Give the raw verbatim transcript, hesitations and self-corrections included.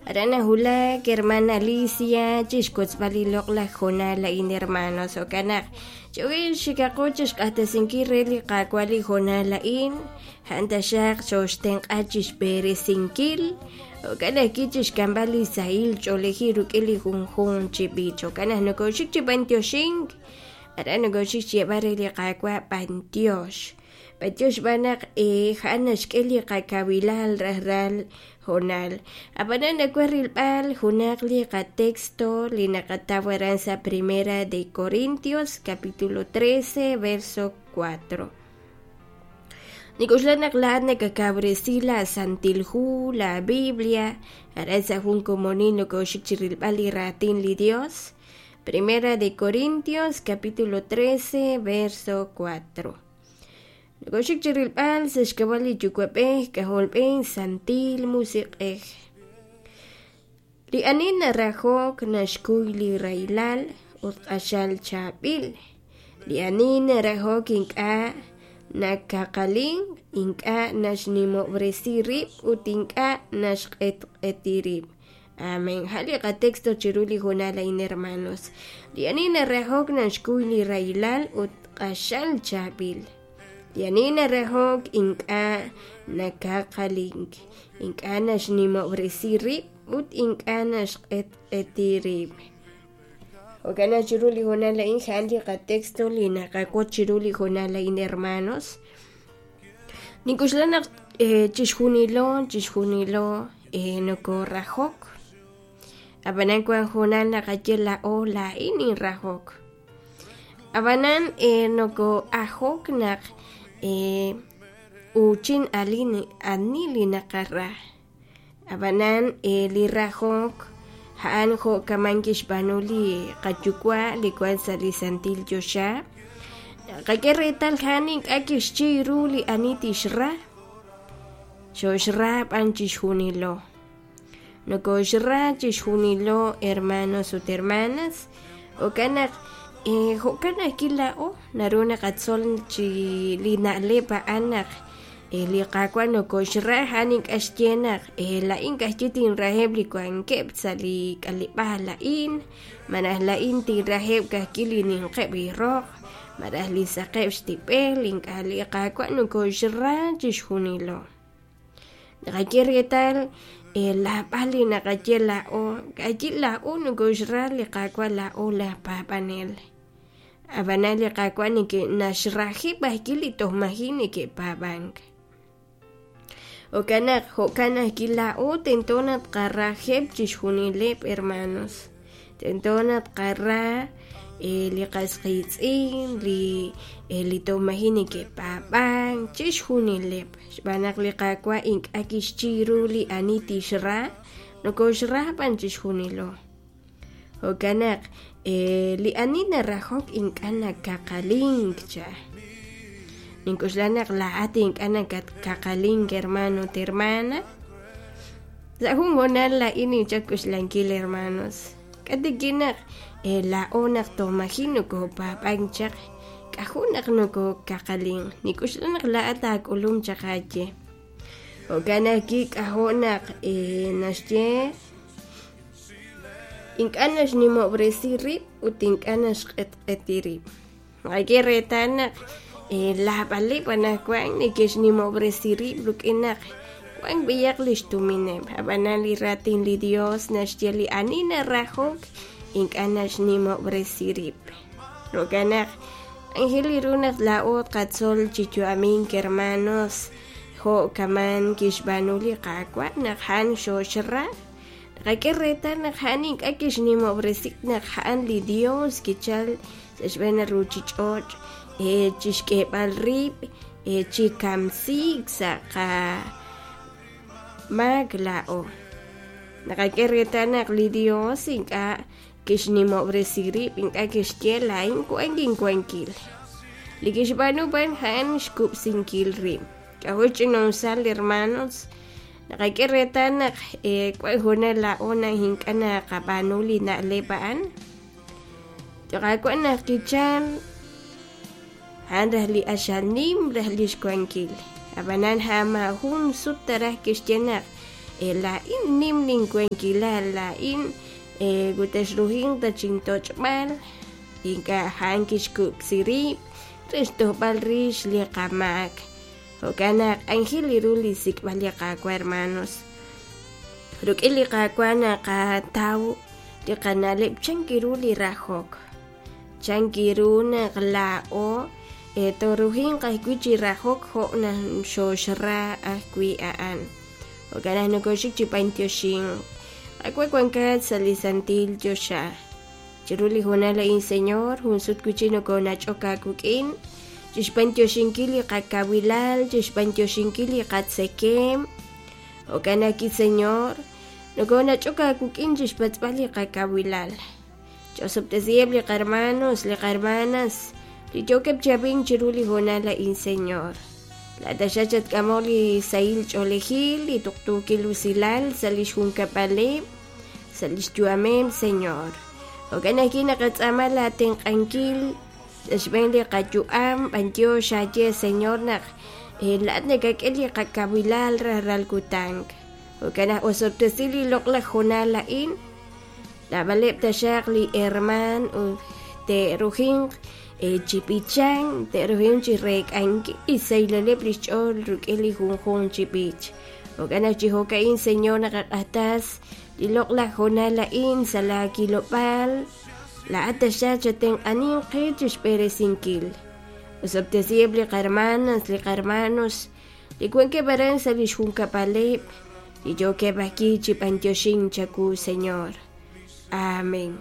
Aran nahulak hermana Alicia chixwotzb'al li loq'laj hoonal a'in hermanos jo'kan naq ch'o'il xikaqo chixq'axtesinkil re li Qaawa' li hoonal a'in a'an taxaq xooxtenq'a chixb'eresinkil jo'kan ajwi' chixk'amb'al li sahil ch'oolejil rik'in li junjunq chi b'ich jo'kan naq nokoxik chi b'antioxink aran nokoxik xyeeb'al re li Qaawa' b'antiox b'antiox xb'aan naq a'an naxk'e li qakawilal rajlal hoonal ab'anan nawaj rilb'al junaq li qatexto li naqataw aran sa' Primera de Corintios capítulo trece verso cuatro Nik'uxla naq laa'at nakakawresi la Santil Hu, la Biblia, aran sa' jun komonil nokoxik chi rilb'al li raatin li Dios. Primera de Corintios capítulo trece verso cuatro Nokoxik chi rilb'al sa' xk'ab'a' li Yuwa'b'ej K'ajolb'ej Santil Musiq'ej. Li ani narajok naxkuy li rahilal ut q'axal chaab'il. Li ani narajok ink'a' nakaqalink, ink'a' naxnimob'resi rib' ut ink'a' naxq'etq'eti rib'. Amén. A'an li qatexto chiru li hoonal a'in hermanos. Li ani narajok naxkuy li rahilal ut q'axal chaab'il. Li ani narajok ink'a' nakaqalink, ink'a' naxnimob'resi rib' ut ink'a' naxq'etq'eti rib'. Jo'kan naq chiru li hoonal a'in a'an li qatexto li naqawotz chiru li hoonal a'in hermanos. Nink'uxla naq chixjunilo chixjunilo nokorajok ab'anan wan hoonal naqaye laa'o laa'in ninrajok ab'anan noko'ajok naq uuchin ali ani li naqara ab'anan li rajok a'an jo' kaman kixb'aanu li qayuwa' li wan sa' li santil choxa qak'e reetal a'an ink'a' kixchiy ru li ani tixra xoxra b'an chixjunilo nokoxra chixjunilo hermanos ut hermanas jo'kan naq jo'kan ajwi' laa'o naru naqatzol chi li na'leb' a'an naq li Qaawa' nokoxra a'an ink'a' xye naq laa'in ka'ajwi' tinraheb' li wankeb' sa' li k'aleb'aal a'in malaj laa'in tinraheb' ka'ajwi' li ninqeb' li roq malaj li saqeb' xtib'el ink'a' li Qaawa' nokoxra chixjunilo naqaye reetal laab'al li naqaye laa'o ka'ajwi' laa'o nokoxra li Qaawa' laa'o laj paab'anel ab'anan li Qaawa' naxrajeb' ajwi' li toj maji' neke'paab'ank jo'kan naq jo'kan ajwi' laa'o tento naq tqarajeb' chixjunileb' hermanos tento naq tqara li qas qiitz'in li li toj maji' neke'paab'ank chixjunileb' xb'aan naq li Qaawa' ink'a' kixchiy ru li ani tixra nokoxra b'an chixjunilo jo'kan naq li ani narajok ink'a' nakaqalink cha nink'uxla naq laa'at ink'a' nakatkaqalink hermano ut hermana sa' jun hoonal laa'in ninchap k'uxlankil hermanos k'atikin naq laa'o naq toj maji' nokopaab'ank chaq k'aju' naq nokokaqalink nik'uxla naq laa'at aak'ulum chaq aaye jo'kan ajwi' k'ajo' naq naxye ink'a' naxnimob'resi rib' ut ink'a' naxq'etq'eti rib' naqak'e reetal naq laab'aleb' anaqwan neke'xnimob'resi rib' rik'in naq wan b'iyaq li xtumineb' ab'anan li raatin li Dios naxye li ani narajok ink'a' naxnimob'resi rib' jo'kan naq anjel li ru naq laa'o tqatzol chi yu'amink hermanos jo' kaman kixb'aanu li Qaawa' naq a'an xoxra naqak'e reetal naq a'an ink'a' kixnimob'resi naq a'an li Dios kichal sa' xb'een ruchich'och' chixk'eeb'al rib' chi kamsiik sa' qamaak laa'o naqak'e reetal naq li Dios ink'a' kixnimob'resi rib' ink'a' kixye laa'in wank inwankil li kixb'aanu b'an a'an xkub'sinkil rib' k'ajo' xch'ina'usal hermanos naqak'e reetal naq wan hoonal laa'o naq ink'a' naqab'aanu li na'leb' a'an Qaawa' naq kichal a'an raj li q'axal nim raj li xwankil ab'anan a'an maajun sut taraj kixye naq Laa'in nim linwankilal, laa'in ut ta chintoch'b'al, ink'a' a'an kixkub'si rib' re xtojb'al rix li qamaak. Jo'kan naq aajel ru li xsik'b'al li Qaawa', hermanos. Rik'in li Qaawa' naqataw li qana'leb' chan ru li rajok, chan ru naq laa'o tooruhinq ajwi' chi rajok jo' naq xooxra ajwi' a'an. Jo'kan naq nokoxik chi b'antioxink. Qaawa' wankat sa' li santil choxa. Chiru li hoonal a'in, Señor, jun sut wi' chik nokonach'ok aawik'in chixb'antioxinkil li qakawilal, chixb'antioxinkil li qatzekem. Jo'kan ajwi', Señor, nokonach'ok aawik'in chixpatz'b'al li qakawilal. Ch'osob'tesiheb' li qarmanos, li qarmanas, li yookeb' chi ab'ink chiru li hoonal a'in, Señor. Laa'at chatk'amoq li sahil ch'oolejil, li tuqtuukil usilal sa' li xjunkab'aleb', sa' li xyu'ameb', Señor. Jo'kan ajwi' naqatz'aama laatenq'ankil sa' xb'een li qayu'am, b'antiox aaye, Señor, naq laa'at nakak'e li qakawilal rajlal kutan. Jo'kan naq osob'tesi li loq'laj hoonal a'in, naab'aleb' taxaq li hermaan ut te'rujinq chi b'ichank, te'rujinq chi reek'ankil li xsahileb' li xch'ool rik'in li junjunq chi b'ich. Jo'kan naq chi jo'ka'in, Señor, naqaq'axtas li loq'laj hoonal a'in sa' laakilob'aal, laa'at taxaq chatenq'aninq qe chixb'eresinkil. Osob'tesiheb' li qarmanas, li qarmanos, li wankeb' aran sa' li xjunkab'aleb', li yookeb' ajwi' chi b'antioxink chawu, Señor. Amén.